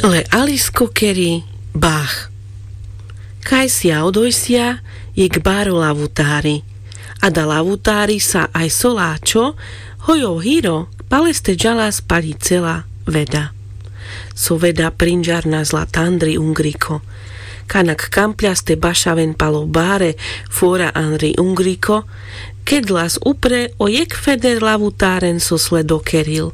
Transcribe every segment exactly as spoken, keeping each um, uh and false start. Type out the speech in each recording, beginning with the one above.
Le alisko keri bach. Kajsia odojsia jekh baro lavutári. Ada lavutári sa aj so láčo, hoj o hiro, paleste džalas pali cela veda. So veda prinžarnas la tandri ungriko. Kanak kampľas te bašaven palo bare fora andri ungriko, kedlas upre o jekh feder lavutáren so sledo keril.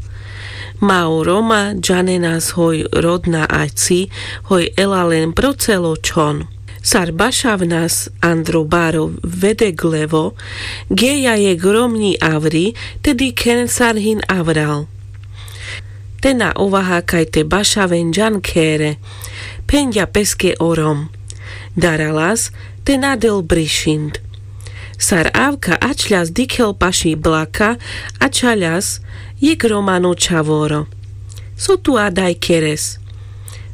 Ma o roma džanenas hoj rodna ačci, hoj ela len pro celo čhon. Sar bašavnas andro baro vedeglevo, geja jekh romňi avri, te dikhen sar hin avral. Te na ovaha kaj te bašaven džan khere. Phenďa peske o rom. Daralas, te na del brišind. Sar avka ačľas dikhel paši blaka, ačaľas jekh romano čhavoro. So tu adaj keres?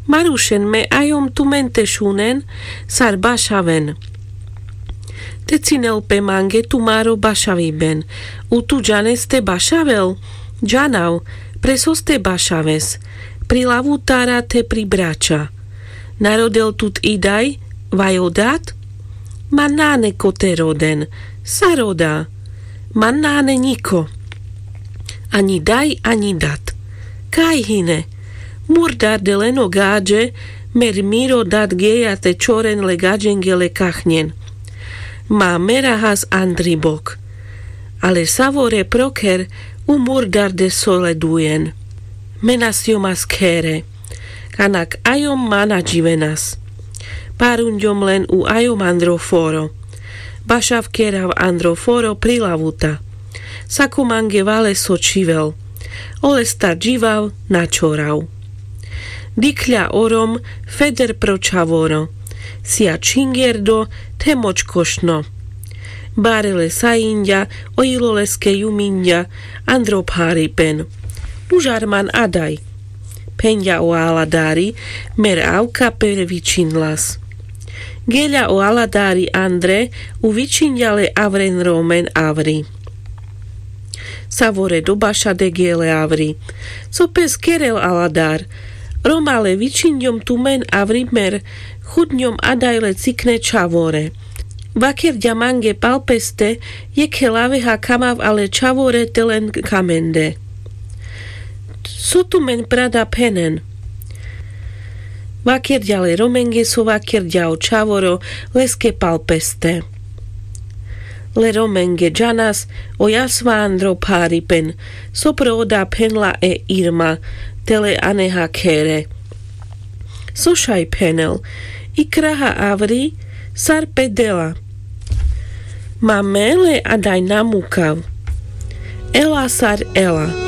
Marušen me ajom tumen te šunen, sar bašaven. Te cinel pe mange tumaro bašaviben. U tu džanes te bašavel? Džanav. Pre sos te bašaves? Pri lavutára te pri brača. Na rodel tut idaj, vaj o dat? Ma nane ko te roden. Sar oda? Ma nane ňiko. Aňi daj, aňi dat. Kaj hine? Murdarde len o gaďe, mer miro dat geja te čoren le gaďenge le kachňen. Ma merahas andri bok. Ale savore proker u murdarde so ledujen. Me na sijom as khere. Kanak ajom ma na dživenas. Parunďom len u ajom andro foro. Bašav kerav andro foro pri lavuta. Sako mange vale so čivel. Olestar dživav na čorav. Dikhľa o rom feder pro čhavoro. Sija čhingerdo, the močkošno. Bare le sajinďa, o ilo leske juminďa, andro pharipen. Užar man adaj. Phenďa o aladári, mer avka per vičinlas. Geľa o aladári andre, u vičinďa le avren romen avri. Savore do bašade gele avri. Co pes kerel aladár? Roma le vičinďom tumen avri mer, chudňom adaj le cikne čhavore. Vakerďa mange pal peste, jekhe laveha kamav ale čhavore te len kamende. So tumen prada phenen? Vakerďa le romenge so vakerďa o čhavoro leske pal peste. Le romenge džanas o jasva andro pharipen, so pro oda phenla e irma, te le aneha khere. So šaj phenel? I kraha avri, sar pe dela. Ma me le adaj na mukav. Ela sar ela.